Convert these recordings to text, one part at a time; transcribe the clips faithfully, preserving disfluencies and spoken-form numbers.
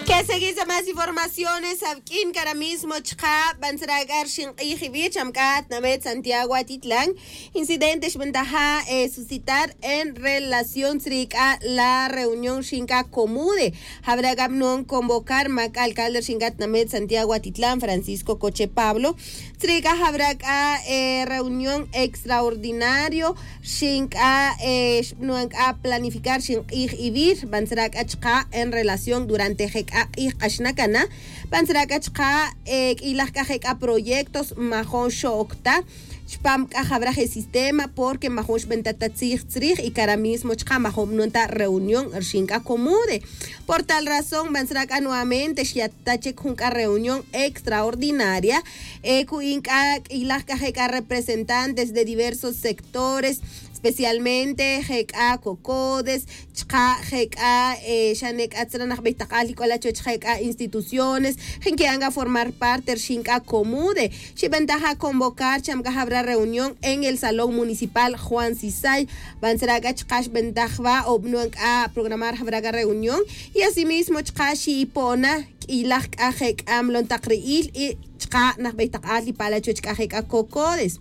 Que seguís a más informaciones awq'uin cara mismo chka' bantzra' c'a rxin k'ij iwi' cham c'a tnamet santiago atitlan. Incidente xbentaja' suscitar en relación tzri' c'a la reunión rxin c'a comude. Jabra' c'a bnon convocar ma c'a alcalde rxin c'a tnamet santiago atitlan francisco coche pablo. Tzri' c'a jabra' c'a reunión extraordinario rxin c'a xbnuan c'a planificar rxin k'ij iwi' rbantzra' c'a chka' en relación durante je c'a k'ij k'axna cana. Bantzra' c'a chka' q'uilaj c'a je c'a proyectos majon xo'oc ta chpam c'a jawra je sistema porque majon xbenta ta tzij tzrij y cara mismo chka' majon bnon ta reunión rxin c'a comude. Por tal razón bantzra' c'a nuevamente xyat ta chic jun c'a reunión extraordinaria. Cu'in c'a q'uilaj c'a je c'a representantes de diversos sectores, especialmente je c'a cocodes chka' je c'a xane c'a tzra' najbey tak'al y c'ola chuwech je c'a instituciones jin qui'an c'a formar parte rxin c'a comude. Xibentaja' convocar cham c'a jawra reunión en el salón municipal juan sisay. Bantzra' c'a chka' xbentaj wa o bnuan c'a programar jawra c'a reunión y asimismo chka' xi'ipona q'uilaj c'a je c'a mlon tak ri'il y chka' najbey tak al y pala' chuwech c'a je c'a cocodes.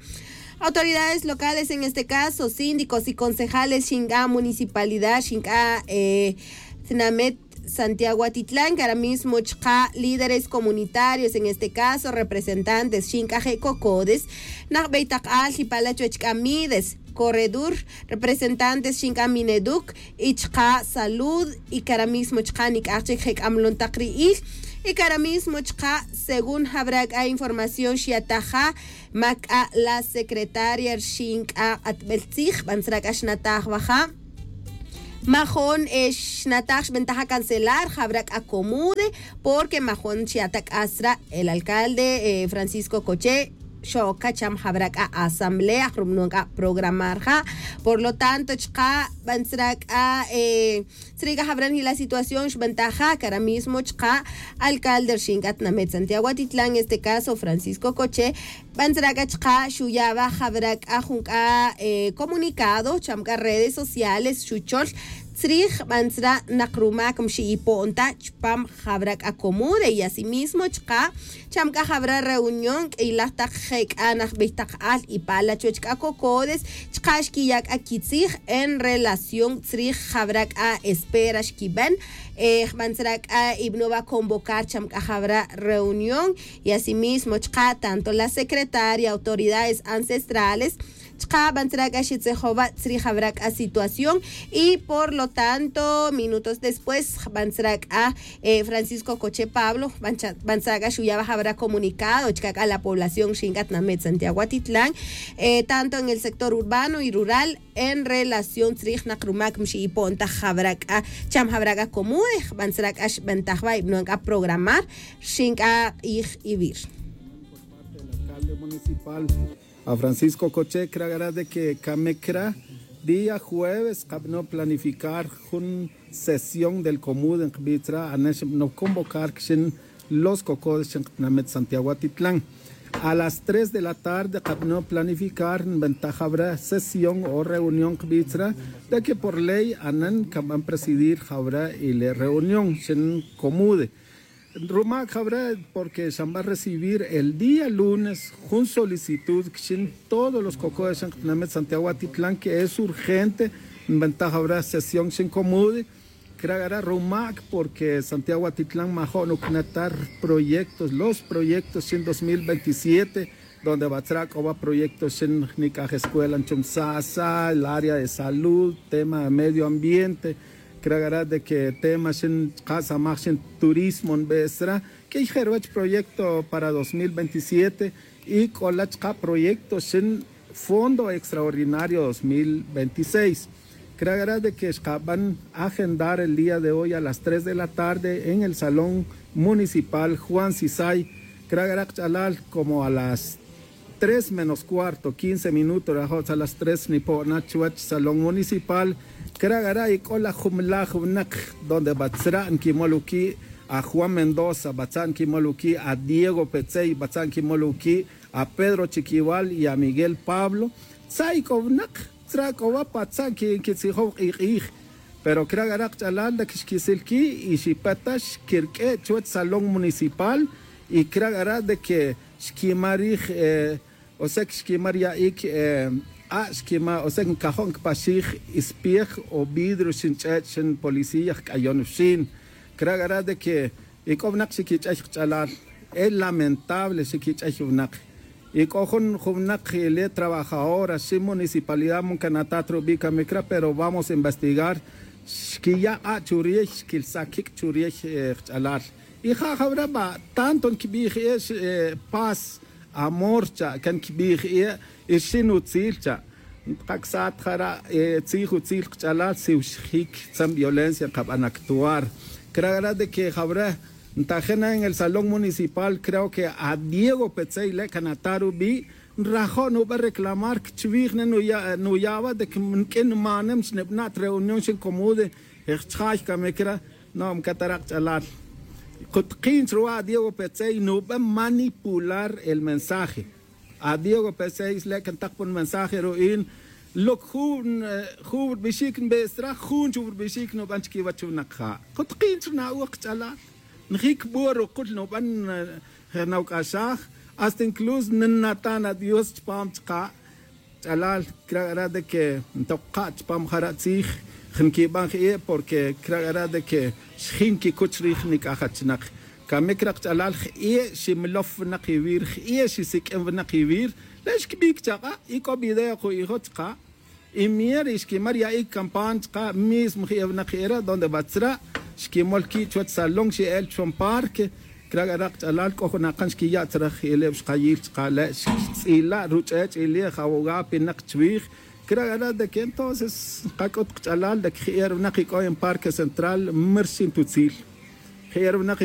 Autoridades locales en este caso síndicos y concejales rxin c'a municipalidad rxin c'a tnamet santiago atitlan cara mismo chka' líderes comunitarios en este caso representantes rxin c'a je cocodes najbey tak al y pala' chuwech c'a mides corredor representantes rxin c'a mineduc y chka' salud y cara mismo chka' nic'aj chic je c'a mlon tak ri'il. Y cara mismo chka' según jawra c'a información xyataja' ma c'a la secretaria rxin c'a k'atbel tzij bantzra' c'a xnataj wa ja'. Majon xnataj xbentaja' cancelar jawra c'a comude porque majon xyata' c'a tzra' el alcalde francisco coche xo'oc c'a cham jawra c'a asamblea jrubnon c'a programar ja'. Por lo tanto chka' bantzra' c'a tzri' c'a jawra nji la situación xbentaja' cara mismo chka' alcalde rxin c'a tnamet santiago atitlan este caso francisco coche. Bantzra' c'a chka' xuya' wa jawra c'a jun c'a comunicado cham c'a redes sociales xuchol tzrij bantzra' nak rumac mxi'ipon ta chpam jawra c'a comude y asimismo chka' cham c'a jawra reunión q'uilaj tak je c'a najbey tak al y pala' chuwech c'a cocodes chka' xquiya' c'a quitzij en relación tzrij jawra c'a espera xquiben. Jbantzra' c'a ibno' wa convocar cham c'a jawra reunión y asimismo chka' tanto la secretaria autoridades ancestrales chka' bantzra' c'a xitzejowa' tzrij jawra c'a situación. Y por lo tanto minutos después jbantzra' c'a francisco coche pablo jbantzra' c'a xuya' wa jawra comunicado chka' c'a la población rxin c'a tnamet santiago atitlan tanto en el sector urbano y rural en relación tzrij nak rumac mxi'ipon ta jawra c'a cham jawra c'a comude jbantzra' c'a xbentaj wa ibnuan c'a programar rxin c'a k'ij iwi'. Alcalde municipal a francisco coche cra' cra' de que camic cra' día jueves kabno planificar jun sesión del comude nkbi' tzra' anen xbno convocar kxin los cocodes xin ktinamit santiago atitlan. A las tres de la tarde kabno planificar nbentaj abra sesión o reunión nkbi' tzra', de que por ley anen kanban presidir jabra y le reunión xin comude. Rumak jabra porque xanban recibir el día lunes jun solicitud kxin todos los cocodes xin ktinamit santiago atitlan que es urgente nbentaj abra sesión xin comude. Cra' cra' rumak porque santiago atitlan majo' nucnatar proyectos los proyectos xin dos mil veintisiete, donde ba tzra' c'o ba proyectos xin nic'aj escuela nchum sasa el área de salud tema de medio ambiente. Cra' cra' de que tema xin chka' samaj xin turismo nbe' sra' q'uiy je' ruwech proyecto para dos mil veintisiete. Y c'o la chka' proyecto xin fondo extraordinario dos mil veintiseis. Cra' cra' de que xkaban agendar el día de hoy a las tres de la tarde en el salón municipal juan sisay. Cra' cra' kch'alal como a las tres menos cuarto quince minutos rajo' tzal las tres nipo'na chuwech salón municipal. Cra' cra' y c'o la jumlaj winak donde ba tzra' nquimol uqui' a juan mendoza ba tzra' nquimol uqui' a diego petzey ba tzra' nquimol uqui' a pedro chiquival y a miguel pablo. Tzra' y c'o winak tzra' c'o wa pa tzra' nquitzijow k'ij k'ij. Pero cra' c'a ra kch'alal de que xquisil-qui y xipet ta xquirq'ue' chuwech salón municipal. Y cra' c'a ra de que xquimar rij, eh, o sea que xquimar ya'ic, eh, a' xquimar, o sea que ncajo' nquipaxij ispiej o vidrio xin ch'ech' xin policía jc'ayon wxin. Cra' c'a ra de que y c'o winak xiquich'ay kch'alal. Es lamentable xiquich'ay winak. Y c'o jun jun winak ile trabajadora xi municipalidad man canatat rubi' camic cra' pero vamos a investigar. Xquiya' k'a' churiy xquilsa quic' churiy, eh, kch'alal. Y ja' jawre' ba' tanto nquibij e' paz, amor cha' can quibij e' y xin utzil cha'. Nkacsat jara' tzij utzil kch'alal si wxjic tzan violencia nkaban actuar. Cra' c'a ra de que jawre' ntajin en el salón municipal creo que a diego petzey le' canata rubi'. Nrajo' nuben reclamar cchuij ne nuya' nuya' wa de que nq'uin nmanem xnibana' ta reunión xin comude. Jchjay camic cra'. No mcatara' kch'alal. Kutkin chruwa' a diego petzey nuben manipular el mensaje. A diego petzey le' can tak pa nmensaje ru'in. Loc jun jun rbixic nbestra jun chuw rbixic nuben chiquiwech winak ja'. Kutkin chrna'uj kch'alal. Njic bor rukul nuben. Nawc'axaj hasta incluso nnatan adios chupam chka'. Ch'alal cra' c'a ra de que ntok ka' chupam jara' tzij. Nquiban jie' porque cra' c'a ra de que xjin quicuch rij nic'aj achinak. Camic ra kch'alal jie' ximelof winak iwir jie' xisiq'uin winak iwir. Le' xquibic chak'a' y c'o video ku'ijo' chka'. Y mier y xquimar ya'ic campana chka' mismo jie' winak jie' re' donde batzra' xquimol qui' chuwech salón xe'el chuwech parque. Cra' c'a ra kch'alal c'o jun akan xquiya' tzra jie' le' wixkayil chka' le' xtz'ila' ruch'ech' ile' jawogá pinak chuwij. Cra' c'a ra de que entonces nkac'ut kch'alal de que jie' re' winak ic'o en parque central mir xin tutzil. Jie' re' winak